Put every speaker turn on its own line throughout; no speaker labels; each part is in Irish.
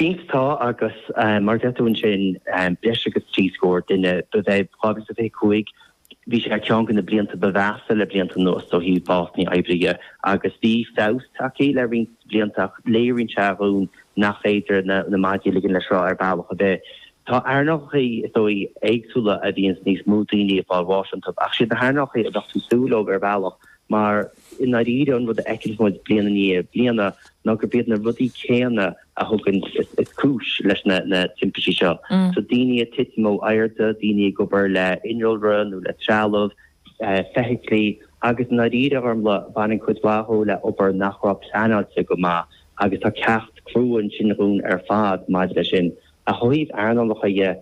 Cinnte tá agus mar a deir tú ansin, breis agus 3 scór duine, ba é 2025, bhí sé ar cheann de na blianta ba mheasa le blianta anuas ó thaobh básanna oibre dhe agus bhí feabhas tagtha le roinnt blianta ach léiríonn sé dhúinn nach féidir na maidí a ligean le sruth ar bhealach ar bith. Tá earnálacha, is dóigh, éagsúla a bhíonns níos mó daoine ag fáil bháis iontu ach siad na hearnálacha a bheadh tú ag súil leo ar bhealach mar i ndáiríre an rud a fheiceanns muid bliain i ndiaidh bliana ná gurb iad na rudaí céanna a thugann is cúis leis na timpistí seo. So daoine ag titim ó airde, daoine ag obair le innealra nó le trealamh, feithiclí agus i ndáiríre a Ghormfhlaith baineann cuid mhaith dhó le obair nach raibh pleanáilte go maith agus tá ceacht crua ansin dhúinn ar fad maidir leis sin. Ach ó thaobh earnálacha dhe,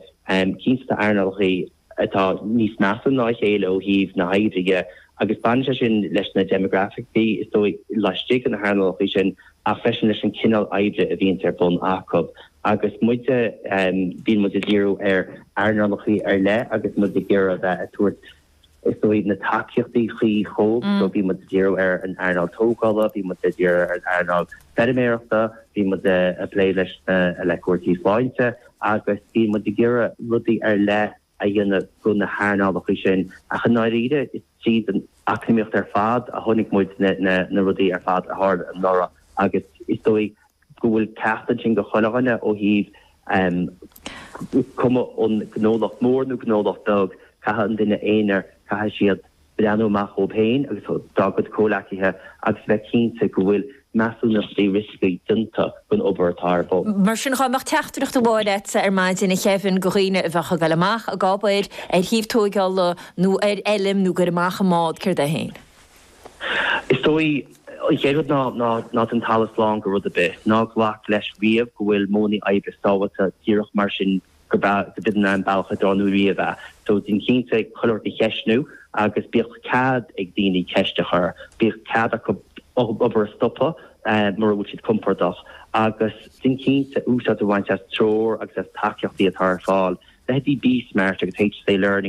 cinnte tá earnálacha atá níos measa ná a chéile ó thaobh na hoibre dhe agus baineann sé sin leis na déimeagrafaicí is dóigh laistigh de na hearnálacha sin ach freisin leis an cineál oibre a bhíonns ar bun acu. Agus muide, bíonn muid ag díriú ar earnálacha ar leith agus muid ag iarraidh a bheith ag tabhairt is dóigh na tacaíochtaí cuí dhóibh. So bhí muid ag díriú ar an earnáil tógála, bhí muid ag díriú ar an earnáil feirmeoireachta, bhí muid ag plé leis na le cúrsaí sláinte agus bhí muid ag iarraidh rudaí ar leith a dhéanamh do na hearnálacha sin. Ach i ndáiríre is tríd an eacnamaíocht ar fad a chonaic muid na rudaí ar fad a tharla anuraidh agus is dóigh go bhfuil ceacht ansin do chuile dhuine ó thaobh is cuma an gnólacht mór nó gnólacht beag, caithfidh an duine aonair, caithfidh siad breathnú amach dhóibh féin agus dá gcuid comhleacaithe agus a bheith cinnte go bhfuil measúnachtaí rioscaí déanta don obair atá ar bun.
Mar sin, dhá mbeadh teachtaireacht amháin agatsa ar maidin, a Kevin, do dhaoine a bheadh ag dul amach ag obair ar shuíomh tóigeála nó ar fheilm nó ag goil amach i mbád, céard é féin?
Is dóigh, an chéad rud ná ná déan talamh slán de rud ar bith. Ná glac leis riamh go bhfuil modhanna oibre sábháilte díreach mar sin gurb in an bealach a d'oir riamh é. So déan cinnte chuile rud a cheistniú agus bíodh cead ag daoine ceist a chur. Bíodh cead acu obair a stopadh mura bhfuil siad compordach agus déan cinnte úsáid a bhaint as treoir agus as tacaíochtaí atá ar fáil. Leithéidí BeSmart agus HSA Learning.